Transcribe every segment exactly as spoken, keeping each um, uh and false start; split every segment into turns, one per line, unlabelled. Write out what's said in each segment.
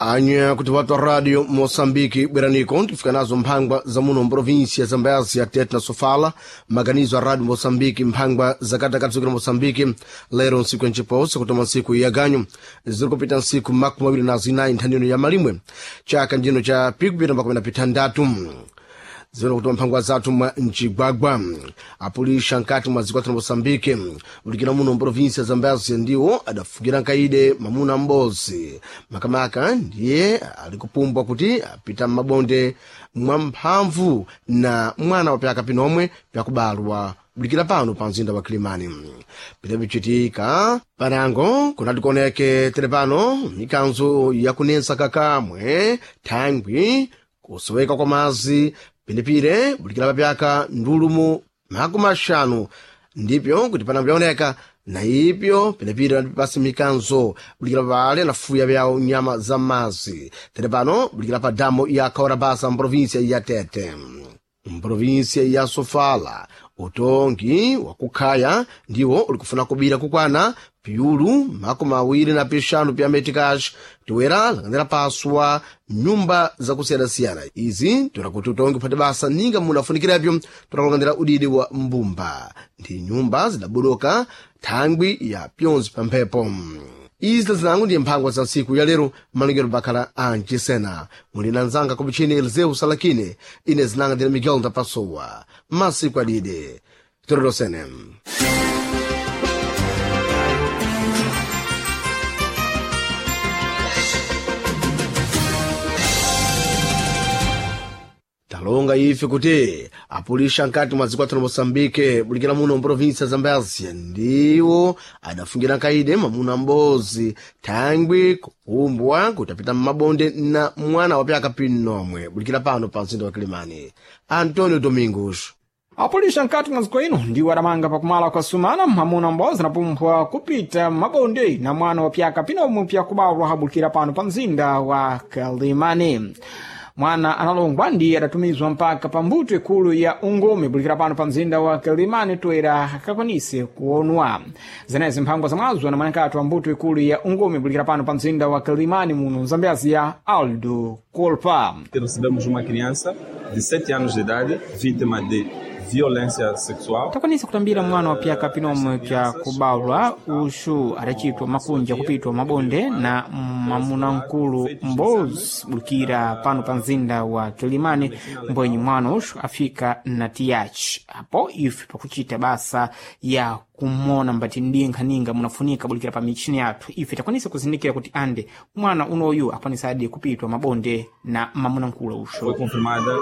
Anya kuti watu wa radio Moçambique bweraniko tifika nazo mphangwa za muno mprovinsia Zambézia Tete na Sofala maganizo a radio Moçambique mphangwa zakatakati zikira Moçambique lero nsiku ya nchiposa kutoma nsiku ya ganyo ziri kupita nsiku makumi awiri na zinayi nthanino ya malimwe chaka njino cha pikupita makumi na pitandatu zimene kutoma mphangwa zathu mwa mcigwagwa apulisha nkati mwa dziko la moçambique ulikira muno mprovinsia zambézia ndiwo adafugira nkaide mamuna m'bodzi makamaka ndiye ali kupumbwa kuti apita m'mabonde mwa mphamvu na mwana wa pyaka pinomwe pyakubalwa bulikira pano pa mzinda wa kilimani pidapichitika panango kunati kuoneke tere pano mikanzo yakunensa kakamwe thangwi kusoweka kwa mazi pinepire bulikira papyaka ndulumu makumi axanu ndipyo kuti panango pyaoneka na ipyo pinepire pasi mikanzo bulikira pale nafuya pyawo nyama za mazi tere pano bulikira pa damu ya kaorabasa mprovinsia ya Tete mprovinsia ya Sofala utongi wakukhaya ndiwo ulikufuna kubira kukwana piulu makumi awiri na pixanu pya metikax tiwera langanira paswa nyumba zakusiyanasiyana izi toera kuti utongi uphate basa ninga munafunikirapyo torakulanganira udidi wa mbumba ndi nyumba zidabuduka thangwi ya pyonzi pa mphepo izi zinango ndiye mphangwa za ntsiku ya lero malingiro bakhala ancisena muli na nzanga kumichini Eliseu Salakine ine zinanga ndine Miguel Ndapasowa masiku adide torerosene talonga ife kuti apulisha nkati mwa dziko la moçambique bulikira muno mprovinsia zambézia ndiwo adafungira nkaide mamuna m'bodzi thangwi kupumbwa kuti apita m'mabonde na mwana wa pyaka pinomwe bulikira pano pa mzinda wa kilimani Antonio Domingos
apulisha nkati mwa ziko ino ndiwo adamanga pakumala kwa sumana mwamuna m'bodzi anapumpha kupita mabonde na mwana wa pyaka pinomwe pyakubalwa abulikira pano pa mzinda wa kalimani mwana analongwa ndiye adatumizwa mpaka pa mbuto ikulu ya ungumi bulikira pano pa mzinda wa kilimani toera akakwanise kuonwa zenezi mphangwa za mwazo na mwanakati wa mbuto ikulu ya ungumi bulikira pano pa mzinda wa kilimani muno mzambézia Aldo Kolpa
Recebemos uma criança de sete anos de idade, vítima de violência sexual.
Takwanisa kutambira mwana wa pyaka pinomwe pya kubalwa uxu adacitwa makunja kupitwa mabonde na mwamuna nkulu mbozi bulikira pano pa mzinda wa kilimani mbwenyi mwana uxu afika na tiyaci apo ife pakucita basa ya kumona mbati ndinkhaninga munafunika bulikira pa michini yathu ife takwanisa kuzindikira kuti ande mwana unoyu akwanisadi kupitwa mabonde na mamuna nkulu uxu
Foi confirmada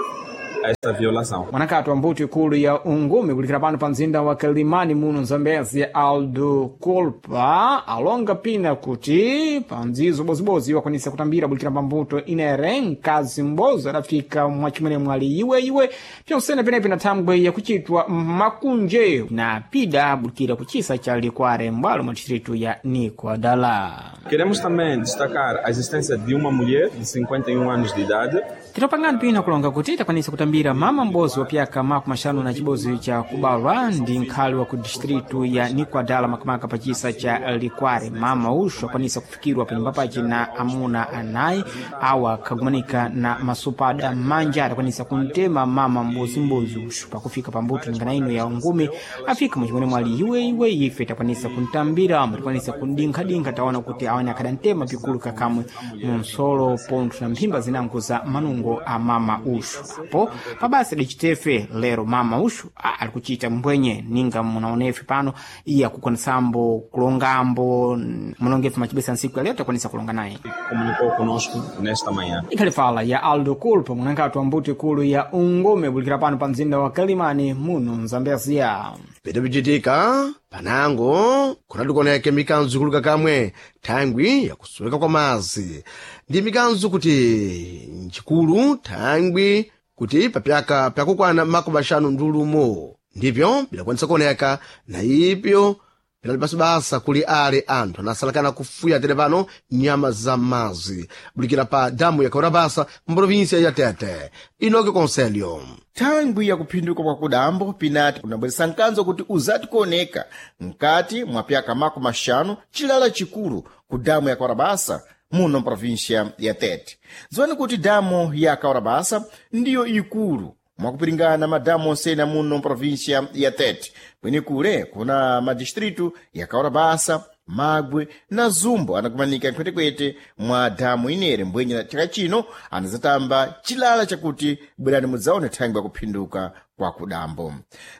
esta violação.
mwanakati wa mbuto ikulu ya ungumi kulikira pano pa mzinda wa kalimani muno mzambezi Aldo Kolpa alonga pina kuti pa mdzizo bozibozi wakwanisa kutambira bulikira pa mbuto inere mkazi m'bozi adafika mwachimwene mwali iweiwe pyonsene penepe na thangwe yakuchitwa makunje na pida bulikira kuchisa cha likware mbwalo mwa distritu ya Nicoadala
Queremos também destacar a existência de uma mulher de cinquenta e um anos de idade.
Titopangani pina kulonga kuti takwanisa kutambira mama m'bozi wa pyaka makumi axanu na cibozi cha kubalwa ndi nkhali wa ku distritu ya Nicoadala makamaka pa chisa cha Likware. Mama uxu akwanisa kufikirwa pa nyumba pace na amuna anayi awa akhagumanika na masupada manja adakwanisa kuntema mama m'bozimbozi uxu pakufika pa mbuto ningana ino ya ungumi afika muchimwene mwali iweiwe ife takwanisa kuntambira amu takwanisa kundinkhadinkha taona kuti awene akadantema pikulu kakamwe munsolo pontho na mphimba zinango za manungo a mama uxu apo pabasa dicitefe lero mama uxu a, ali kucita mbwenye ninga munaonefe pano iye akukwanisambo kulongambo munongefe macibesa nsiku ya lero takwanisa kulonga naye
Comunicou conosco nesta manhã.
ikhali fala ya Aldo Culpa munankati wa mbuto ikulu ya ungumi bulikira pano pa mzinda wa kalimani muno mzambezia
pidapichitika panango kunati kuoneke mikanzo ikuluka kamwe thangwi yakusoweka kwa mazi ndi mikanzo kuti ncikulu thangwi kuti papyaka pyakukwana makumi axanu ndulumo ndipyo bidakwanisa kuoneka na ipyo pinali basa kuli ale anthu anasalakana kufuya tere pano nyama za mazi bulikira pa damu ya kaurabasa mprovinsia ya Tete Inoke Conselho
Thangwi ya kuphinduka kwa kudambo pinati kunabweresa mkanzo kuti uzati kuoneka mkati mwa pyaka makumi axanu chilala chikulu ku damu ya Kwarabasa muno mprovinsia ya Tete. Dziwani kuti damu ya Kaurabasa ndiyo ikulu mwakupiringana madamu onsena muno mprovinsia ya Tete. Kwenikule kuna madistritu ya Kaurabasa, Magwe na Zumbo anakumanika nkhwetekwete mwa damu inere. Mbwenye na chaka chino anazatamba chilala chakuti bwerani mudzaone thangwi yakuphinduka kwa kudambo.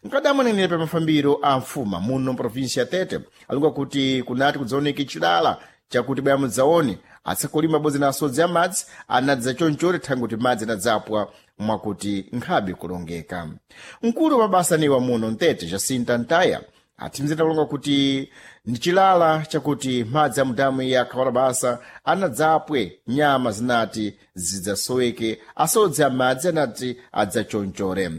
Mkadamu anenera pa mafambiro a mfuma muno mprovinsia ya Tete alunga kuti kunati kudzaoneke chilala chakuti bwera mudzaone atsakulima abodzi na asodzi amadzi anadza chonchore thangwi kuti madzi anadzapwa mwakuti nkhabe kulongeka. Mkulu wa mabasa niwa muno mtete Jacinta Ntaya athimizira kulonga kuti ndi chilala chakuti madzi a mudamu ya Kawarabasa anadzapwe nyama zinati zidzasoweke, asodzi amadzi anati adzachonchore.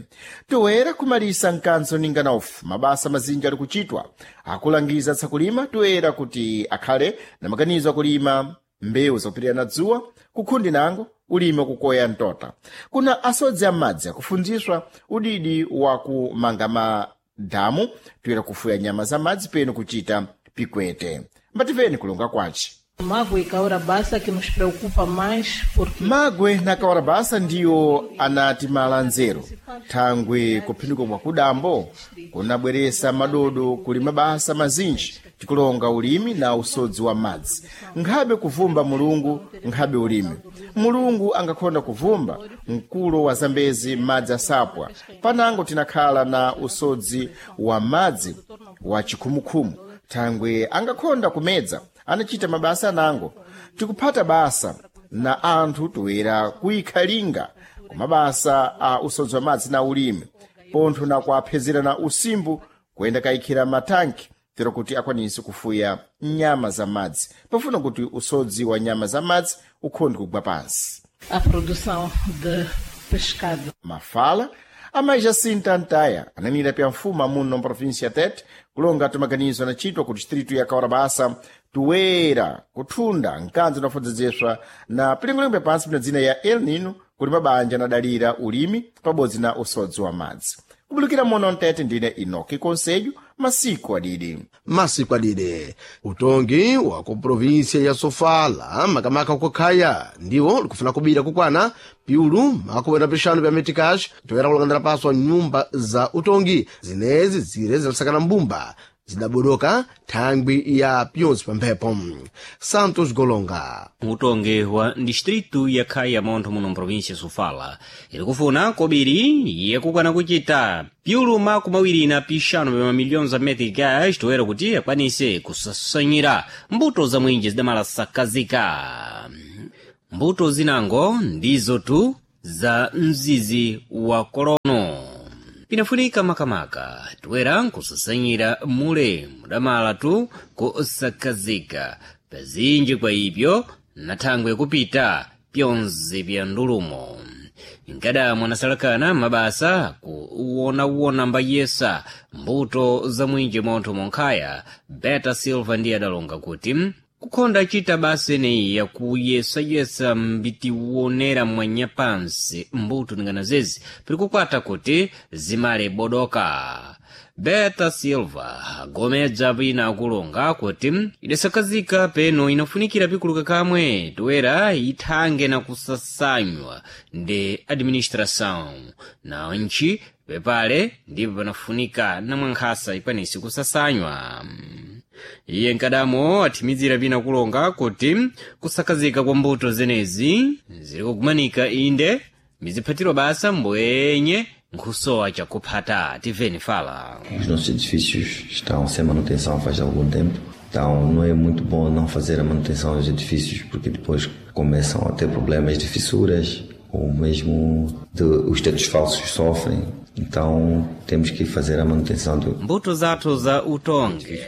Toera kumalisa mkanzo ninga naofu mabasa mazinji ali kuchitwa akulangiza atsakulima toera kuti akhale na maganizo akulima mbewu zakupirira na dzuwa kukhundi nango ulimi wakukoya mtota. Kuna asodzi amadzi akufundziswa udidi wa kumanga madamu toera kufuya nyama za madzi peno kuchita pikwete. Mbativeni kulonga kwace.
Magwe e Caurabassa que nos preocupa mais porque
Magwe na Kawarabasa ndiyo anati malanzero thangwi kuphinduka kwa kudambo kunabweresa madodo kuli mabasa mazinji tikulonga ulimi na usodzi wa madzi. Nkhabe kuvumba mulungu nkhabe ulimi mulungu angakhonda kuvumba mkulo wa Zambezi madzi asapwa panango tinakhala na usodzi wa madzi wa chikhumukhumu thangwi angakhonda kumedza anachita mabasa anango tikuphata basa na anthu toera kuyikhalinga kumabasa a usodzi wa madzi na ulimi pontho na kuaphezera na usimbu kuyenda kayikhira matanki tero kuti akwanise kufuya nyama za madzi pafuna kuti usodzi wa nyama za madzi ukhonde kugwa pansi.
a produção de pescado.
Mafala amayi Jacinta Ntaya ananira pya mfuma muno mprovinsia ya Tete kulonga tumaganizo anachitwa ku distritu ya Kawarabasa tuwera kuthunda mkanzo unafodzedzeswa na pilingolingo pansi pina dzina ya El Nino kuti mabanja anadalira ulimi pabodzi na usodzi wa madzi. Kubulukira muno mtete ndine Inoki Konselho masiku adidi.
Masiku adide utongi wa ku provinsia ya Sofala makamaka kukhaya ndiwo likufuna kubira kukwana piulu makumi na pixanu pya metikash toera kulangandira paso nyumba za utongi zinezi zire zinasakana mbumba zidabodoka thangwi ya pyonse pa mphepo. Santos Golonga.
Utongi wa distritu ya Khaya montho muno mprovinsia Sofala ili kufuna kobiri yakukana kuchita piulu makumi awiri na pixanu pa mamiliyoni za meticas toera kuti akwanise kusasanyira mbuto za mwinji zidamala sakazika. Mbuto zinango ndizo tu za mzizi wa korono pinafunika makamaka toera nkusasanyira mule mudamala tu kusakazika pazinji kwa ibyo na thangwe yakupita pyonse pya ndulumo. Nkadamwe anasalakana mabasa kuwonawona mbayesa mbuto za mwinji montho monkhaya Beta Silva ndiye adalonga kuti kukhonda chita basa eneyi yakuyesayesa mbitiwonera mwanyapansi mbuto ningana zezi pili kukwata kuti zimale bodoka. Beta Silva agomedza pina akulonga kuti idasakazika peno inafunikira pikuluka kamwe toera ithange na kusasanywa ndi administração na ntchi pepale ndipo panafunika namwankhasa ikwanise kusasanywa. Iye nkadamo athimizira pina kulonga kuti kusakazika kwa mbuto zenezi zili kukumanika inde miziphatiro basa mbwenye nkhusowa chakuphata. Tiveni fala.
Os nossos edifícios estão sem manutenção faz algum tempo, então não é muito bom não fazer a manutenção dos edifícios porque depois começam a ter problemas de fissuras ou mesmo de, os tetos falsos sofrem. Então temos que fazer a manutenção do
Mbuto zathu za utongi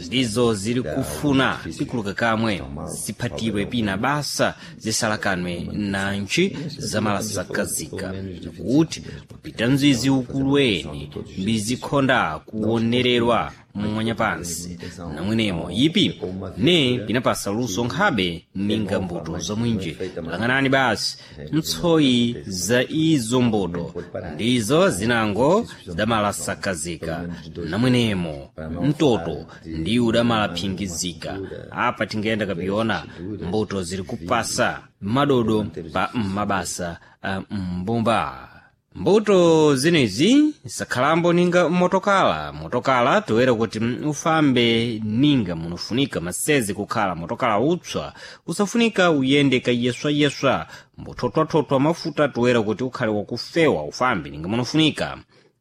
ndizo zili kufuna pikuluka kamwe ziphatidwe pina basa zisalakanwe na ntchi zamalasakazika kuti kupita mzizi ukulu weni mbizikhonda kuwonererwa mwanyapansi namwenemo ipi ne pinapasa luso nkhabe ninga mbuto za mwinji lang'anani basi ntsoyi za izo mbuto ndizo zina Zinango zidamalasakazika namwenemo mtoto ndi udamalaphingizika. Apa tingayenda kapiona mbuto ziri kupasa madodo pa mabasa a mbumba. Mbuto zinezi sakhalambo ninga motokala. Motokala toera kuti ufambe ninga munofunika maseze kukhala motokala utswa, usafunika uyende kayeswayeswa, mbothotwathotwa mafuta toera kuti ukhale wakufewa ufambe ninga munofunika.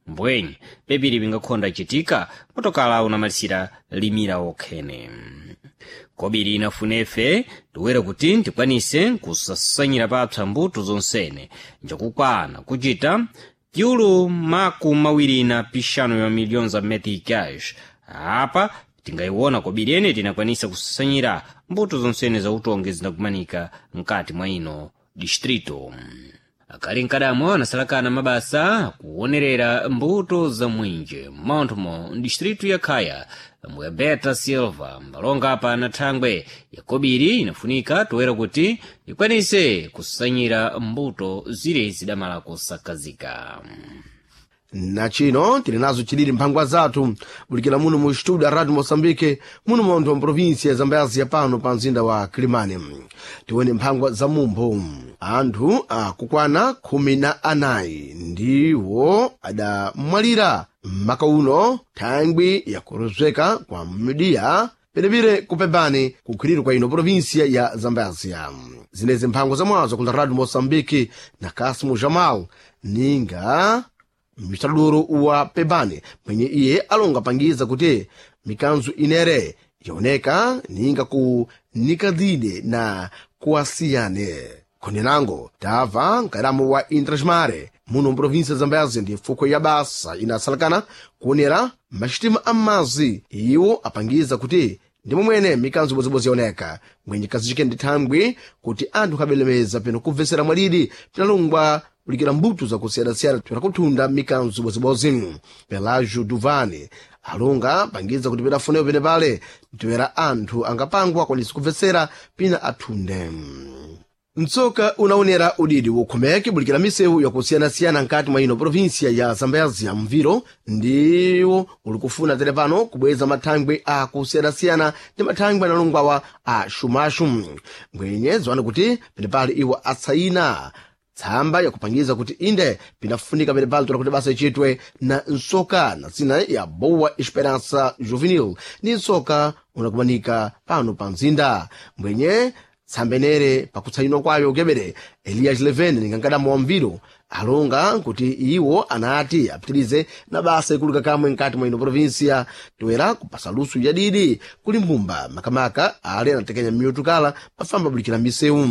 Mbwenye pepiri pingakhonda chitika motokala unamalisira limira okhene. Kobiri inafunefe toera kuti tikwanise kusasanyira papsa mbuto zonsene njakukwana kuchita piulu maku mawiri na pixanu ya miliyoni za meticais. Apa tingayiwona kobiri ene tinakwanisa kusasanyira mbuto zonsene za utongi zinakumanika mkati mwa ino distrito. Akali mkadamo anasalakana mabasa kuonerera mbuto za mwinje mmonthomo distritu ya Khaya mbuya Beta Silva mbalonga apa na thangwe yakobiri inafunika toera kuti ikwanise kusanyira mbuto zire zidamala kusakazika.
Na chino tili nazo chilili mphangwa zathu bulikira muno mu studio a Radio Moçambique muno montho wa província ya Zambézia pano pa mzinda wa Kilimani. Tione mphangwa za mumpho. Anthu akukwana khumi na anayi ndiwo adamwalira m'maka uno thangwi yakuruzeka kwa midiya penepire kupembani kukhwiriro kwa ino província ya Zambézia. Zinezi mphangwa zamwazo kula Radio Moçambique na Kasimo Jamal ninga mistraduro wa pebani mwenye iye alonga pangiza kuti mikanzu inere yaoneka ninga ku nikadhine na kuasiyane. Khonenango tamva nkadamu wa Intrasmare muno mprovinsia Zambézia ndi mfuko ya basa inasalakana kuonera maxitima amazi iwo apangiza kuti ndi momwene mikanzo ibodzi-bodzi yaoneka mwenye kazichike ndi thangwi kuti anthu akhabelemeza peno kubvesera mwalidi pinalungwa kulikira mbuto zakusiyana-siyana pera mikanzo ibodzi-bodzi. Pelagio Duvani alunga pangiza kuti pedafunewo pene pale mtewera anthu angapangwa akwanise kubvesera pina athunde. Mtsoka unaonera udidi wokhomeke bulikira misewu yakusiyana-siyana nkati mwa ino província ya Zambézia. Mviro ndiwo uli kufuna tere pano kubweza mathangwi akusiyana-siyana ndi mathangwi analongwawa a xumaxu. Mbwenye ziwana kuti penepali iwo atsayina tsamba yakupangiza kuti inde pinafunika penepali tola kuti basa ichitwe na nsoka na zina ya Boa Esperança Juvenil ndi nsoka unakumanika pano pa mzinda. Mbwenye tsambenere pakutsayinwa kwayo kebere Elias Leven ningankadamu wa mviro alonga kuti iwo anati apitirize na basa ikulika kamwe nkati mwa ino província toera kupasa lusu yadidi kuli mbumba makamaka ale anatekenya miotukala pafamba bulikira misewu.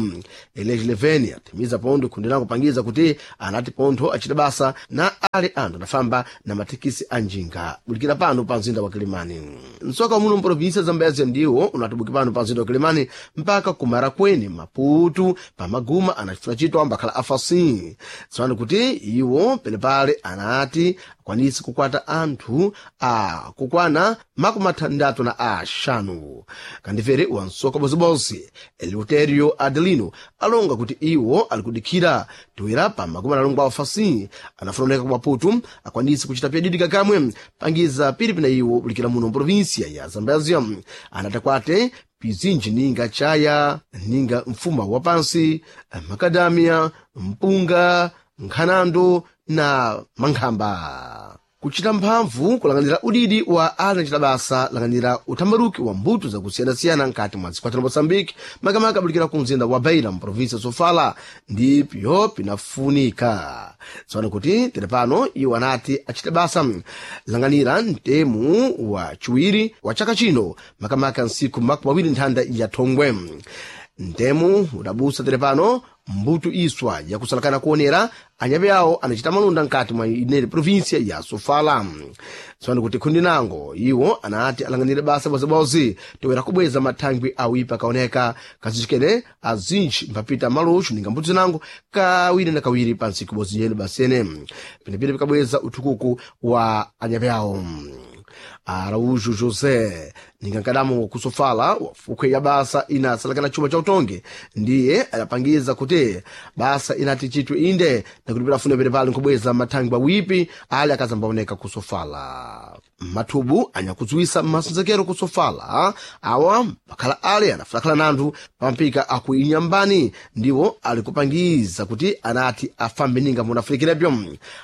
Elias Leven atimiza pontho khundi kupangiza kuti anati pontho achita basa na ale anthu adafamba na mathekisi a njinga bulikira pano pa mzinda wa Kilimani. Msoka muno mprovinsia Zambézia ndiwo unatibuki pano pa mzinda wa Kilimani mpaka kumarakweni Maputu pamaguma anachifuna chito ambakhala afasi tsopano kuti iwo penepale anati akwanise kukwata anthu akukwana makumi atandatu na axanu. Kandifere wansoka bozibonse Eleuterio Adelino alonga kuti iwo ali kudikhira toera pa makumi analongwa afasi anafunaoneka ku Maputu akwanise kuchita pyadidika kamwe pangiza pili pina iwo bulikira muno mprovinsia ya Zambézia. Anatakwate pizinji ninga chaya ninga mfuma wa pansi makadamia mpunga nkhanando na mankhamba. Kuchita mphamvu kulang'anira udidi wa anachita basa lang'anira uthambaruki wa mbuto zakusiyana-siyana nkati mwa dziko la Moçambique makamaka abulikira ku mzinda wa Beira mprovinsia Sofala ndipyo pinafunika. Tsono kuti tere pano iwo anati achite basa lang'anira mtemu wa chiwiri wa chaka chino makamaka nsiku makumi awiri nthanda ya thongwe. Mtemu udabusa tere pano mbuto iswa yakusalakana kuonera anyape awo anachita malonda nkati mwa inere província ya Sofala. Tsono kuti khundi nango iwo anati alang'anire basa bozebozi toera kubweza mathangwi awipa kaoneka kazichikene azinji mpapita maloxo ninga mbuto zinango kawiri na kawiri pa ntsiku ibodzi yene basene penepene pikabweza uthukuku wa anyape awo. Araújo José ningankadamo kusofala wafukwe ya basa inasalakana chuma cha utonge ndiye adapangiza kuti basa inati chitwe inde nakulipira funa pene pali nkubweza mathangwi awipi ali akazambaoneka kusofala. Mathubu anyakudziwisa masonzekero kusofala awa pakhala ale anafulakhala nanthu pamapika aku inyambani ndiwo ali kupangiza kuti anati afambe ninga munafunikirepyo.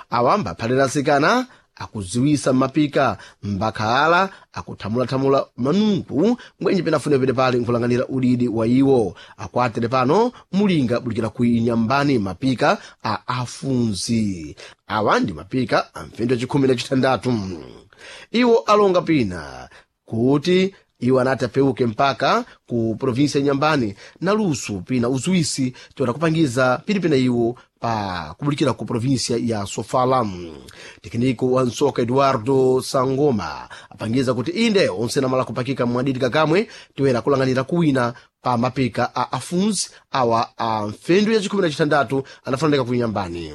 Awa mbaphalira asikana akudziwisa mapika mbakhala akuthamulathamula manungu mbwenje penafune pene pali nkulanganira udidi wa iwo akwatere pano mulinga bulikira ku inyambani mapika a afunzi. Awa ndi mapika a mfendo yachikhumi na chitandatu. Iwo alonga pina kuti iwo anati apeuke mpaka ku provinsi ya Nyambani na lusu pina uzuisi toera kupangiza pilipina iwo pa kubulikira ku provinsia ya Sofala. Tekniko wa nsoka Eduardo Sangoma apangiza kuti inde onse namala kupakika mwadidi kakamwe toera kulanganira kuwina pa mapika a afunzi awa a mfendu ya chikhumi na chitandatu anafananeka ku Nyambani.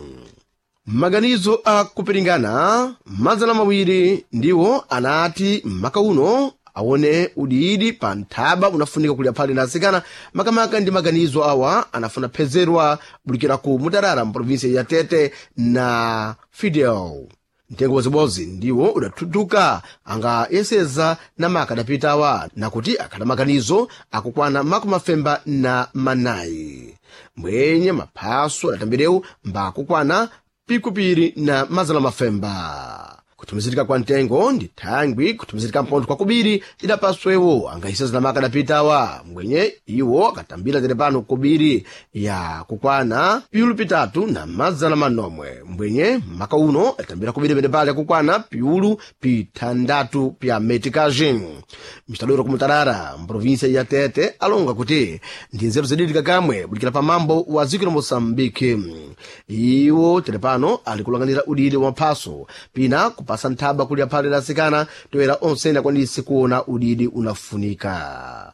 Maganizo a kupiringana mazana mawiri ndiwo anati maka uno aone udidi pa nthaba unafunika kulya phali na asikana makamaka ndi maganizo awa anafuna phezerwa bulikira ku Mutarara mprovinsia ya Tete na Fidel. Mtengo wazibozi ndiwo udathuthuka anga yeseza na maka adapitawa nakuti akhala maganizo akukwana makumi mafemba na manayi mbwenye maphaso adatambirewu mbakukwana pikupiri na mazana mafemba. Kutumizirika kwa mtengo ndi thangwi kutumizirika mpontho kwa kubiri idapaswewo angayiseza maka adapitawa mbwenye iwo akatambira tere pano kubiri ya kukwana piulu pitatu na mazana manomwe mbwenye maka uno atambira kubiri pene pale akukwana piulu pithandatu pya metikaji. Mistadoro kumutarara mprovinsia ya Tete alonga kuti ndi nzeru zididika kamwe bulikira pamambo wa dziko la Moçambique. Iwo tere pano ali kulanganira udidi wa maphaso pina kupasa nthaba kulya phale la asikana toera onse akwanise kuona udidi unafunika.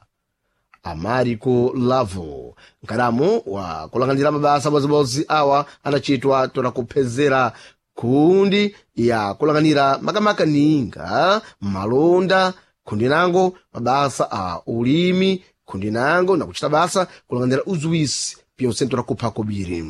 Amariko Lavo nkalamu wa kulanganira mabasa bozibozi awa anachitwa tola kuphezera kundi ya kulanganira makamaka ninga malonda khundi nango mabasa a ulimi khundi nango nakuchita basa kulanganira uzuwisi pyonse tola kupha kobiri.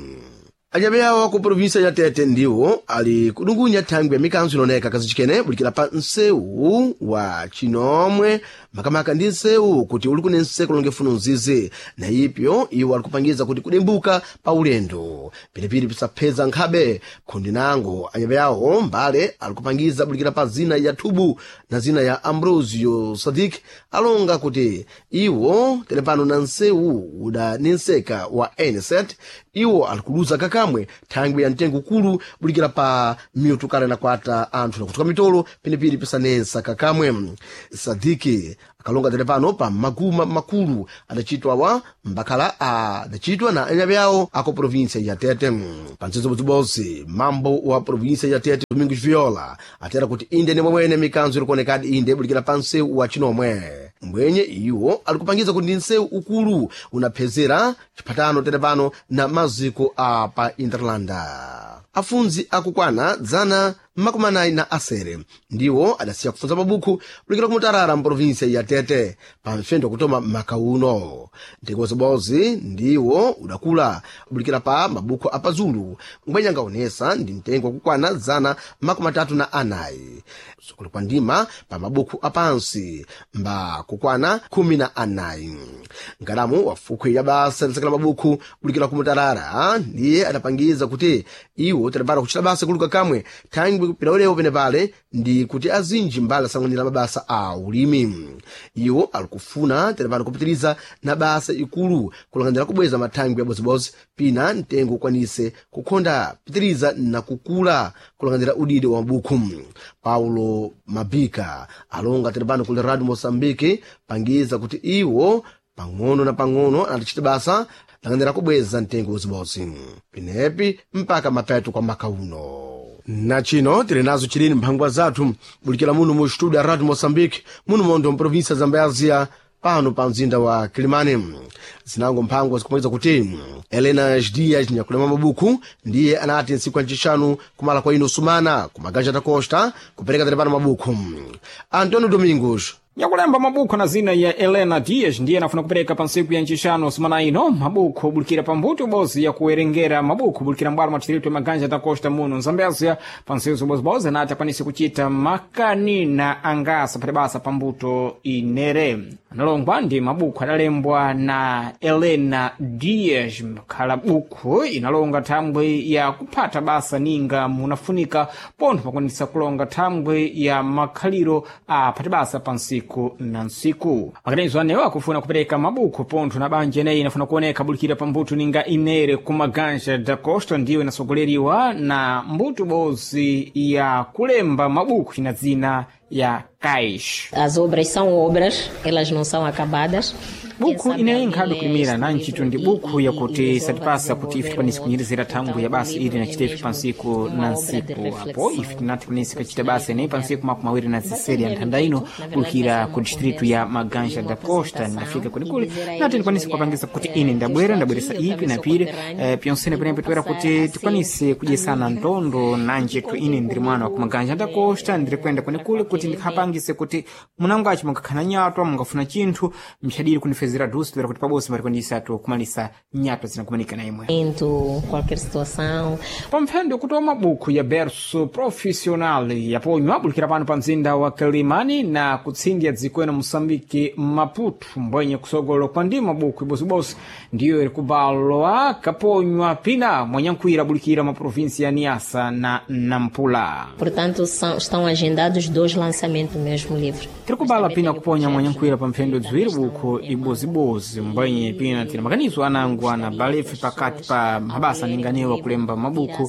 Anyabe awo ku provinsia ya Tete ndiwo ali kudungunya thangwi ya mikanzo inaoneka kazichikene bulikira pa nsewu wa chinomwe makamaka ndi nsewu kuti uli kune nseko longe funo nzizi na ipyo iwo ali kupangiza kuti kudembuka pa ulendo pilipili pisapheza nkhabe khundi nango anyabe awo mbale ali kupangiza bulikira pa zina ya Thubu na zina ya Ambrosio Sadik alonga kuti iwo telepano na nsewu udanenseka wa N set iwo ali kuluza kakamwe thangwi ya mtengo ukulu bulikira pa miutukale na kwata anthu nakutuka mitolo penepiri pisanensa kakamwe. Sadiki akalonga tere pano pa maguma makulu adachitwa wa mbakhala adachitwa na anyabe awo ako provinsia ya Tete. Pansezo bodzibodzi mambo wa provinsia ya Tete Domingos Viola atera kuti inde ni momwene mikanzo ilikuonekadi inde bulikira pa nsewu wa chinomwe mbwenye iwo alikupangiza kuti ndi nsewu ukulu unaphezera chiphatano tere pano na maziko a pa Interlanda. Afunzi akukwana dzana makumi anayi na asere ndiwo adasiya kufunza mabukhu kulikira kumutarara mprovinsia ya Tete pa mfendo kutoma maka uno. Mtengo ndiwo udakula bulikira pa mabukhu apazulu mbwenye angaonesa ndi mtengo wakukwana dzana makumi atatu na anayi sukulu kwa ndima pa mabukhu apansi mba kukwana khumi na anayi. Nkalamu wafukhwe ya basa lisakala mabukhu bulikira kumutarara ndiye adapangiza kuti iwo tadapata kuchita basa kuluka kamwe thangwi pilaulewo penepale ndi kuti azinji mbali asanganira mabasa a ulimi. Iwo alikufuna tadapata kupitiriza na basa ikulu kulanganira kubweza mathangwi abozibozi pina mtengo ukwanise kukhonda pitiriza na kukula kulanganira udidi wa mabukhu. Paulo Mabika alonga tadapano kuli Radio Moçambique pangiza kuti iwo pang'ono na pang'ono anatichita basa langanira kubweza mtengo uzibozi pinepi mpaka mapeto kwa maka uno. Na chino tili nazo chilini mphangwa zathu bulikira muno mu studio ya Radio Moçambique muno mondo mprovinsia Zambézia pano pa mzinda wa Kilimani. Zinango mphango zikumaliza kuti Elena Dias nyakulema mabuku ndiye anati ntsiku ya ncixanu kumala kwa ino sumana kumaganja da Costa kupereka tere pano mabuku. Antonio Domingos
Nyakulemba mabukho na zina ya Helena Dias ndiye anafuna kupereka pa ntsiku ya ncixanu sumana ino mabukho obulikira pambuto bozi ya kuwerengera mabukho obulikira mbwalo mwa distrito ya Maganja da Costa muno Nzambezia pa ntsiku bozibozi anati akwanise kuchita makani na angasa phati basa pambuto inere. Analongwa ndi mabukho adalembwa na Helena Dias khala bukhu inalonga thambwe ya kuphata basa ninga munafunika pontho pakwanisa kulonga thambwe ya makhaliro a phati basa pa ntsiku na ntsiku. Maganizo anewo akufuna kupereka mabukho pontho na banja ineyi inafuna kuoneka bulikira pambuto ninga inere ku Maganja da Costa ndiyo inasogoleriwa na mbuto bozi ya kulemba mabukho ina dzina ya Cais.
As obras são obras, elas não são acabadas.
Buku ineyi nkhabe kulimira na ntchito ndi buku yakuti satipasa kuti ife tikwanise kunyirizira thangwi ya basa ili nachita ife pa ntsiku na ntsiku apo ife tinati tikwanise kachita basa ineyi pa ntsiku makumi awiri na ziseri ya nthanda ino kulikira ku distrito ya Maganja da Costa. Ndafika kulikuli nati ndikwanise kuwapangisa kuti ine ndabwera ndabweresa ipi na pire eh, pyonsene penepo toera kuti tikwanise kudyesana ntondo nanjetu ine ndiri mwana wa ku Maganja da Costa ndiri kuyenda kunikuli kuti ndikhapangise kuti munango aci mungakhana nyatwa mungafuna chinthu mchadiri kunifezera dusi toera kuti pabosi mbarikundisatu kumalisa nyatwa zinakumanika na imwe
Into qualquer situação.
Pamphendo kutoa mabuku ya berso profissional yaponywa abulikira pano pa mzinda wa Kilimani na kutsindya dziko ena Moçambique Maputo mbwenye kusogolo kwa ndi mabuku ibosibosi ndiyo iri kubalwa kaponywa pina mwanyankhwira abulikira ma província ya Niassa na Nampula.
Portanto, são, estão agendados dois lançamentos do mesmo livro.
Tiri kubala pina kuponya mwanyankhwira pa mphendo dziwiri bukhu ibozibozi mbwenye pina tiri makanizo anango ana balefe pakati pa mabasa aninganiwa kulemba mabuku.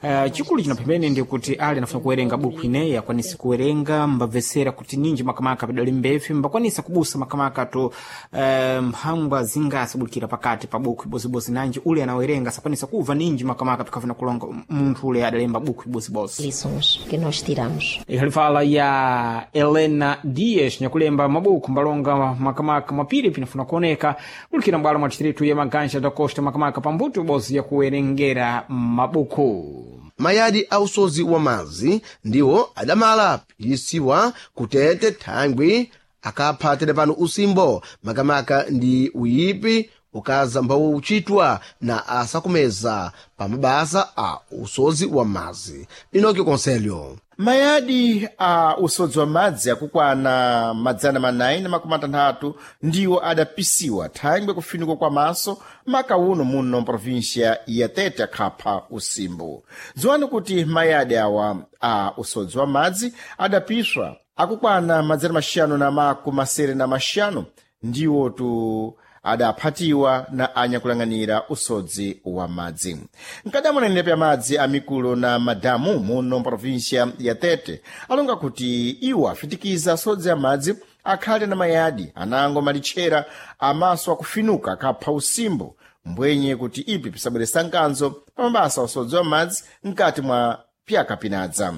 Uh, chikulu chino pembeni ndi kuti ali anafuna kuwerenga buku ineyi akwanise kuwerenga mbabvesera kuti ninji makamaka pidali mbefe mbakwanisa kubusa makamaka to uh, mphangwa zingasi bulikira pakati pa buku ibozibozi nanji ule anawerenga sakwanisa kuva ninji makamaka pikafuna kulonga munthu ule adalemba buku ibozibozi.
Lições que nós tiramos.
Ikhalifala ya Helena Dias nyakulemba mabuku mbalonga makamaka mapiri pinafuna kuoneka kulikira mbwalo mwa distrito ya Maganja da Costa makamaka pambuto bozi ya kuwerengera mabuku.
Mayadi a usozi wa madzi ndiwo adamala piyisiwa kutete thangwi akapha tere pano usimbo makamaka ndi uyipi ukaza mbawo uchitwa na asakumeza pa mabasa a usozi wa madzi. Inoki Conselho.
Mayadi a usodzi wa madzi akukwana madzana manayi na makumi atanthatu ndiwo adapisiwa thangwe kufinikwa kwa maso maka uno muno mprovinsia ya Tete akhapha usimbo. Dziwani kuti mayadi awa a usodzi wa madzi adapiswa akukwana madzana maxanu na makumi masere na maxanu ndiwo tu adaphatiwa na anyakulang'anira usodzi wa madzi. Mkadamo na nenepa ya madzi amikulo na madamu muno mprovinsia ya Tete alonga kuti iwo afitikiza asodzi amadzi akhale na mayadi anango malitchera amaso akufinuka akapha usimbo mbwenye kuti ipi pisabweresa nkanzo pa mabasa usodzi wa madzi mkati mwa pyaka pinadza.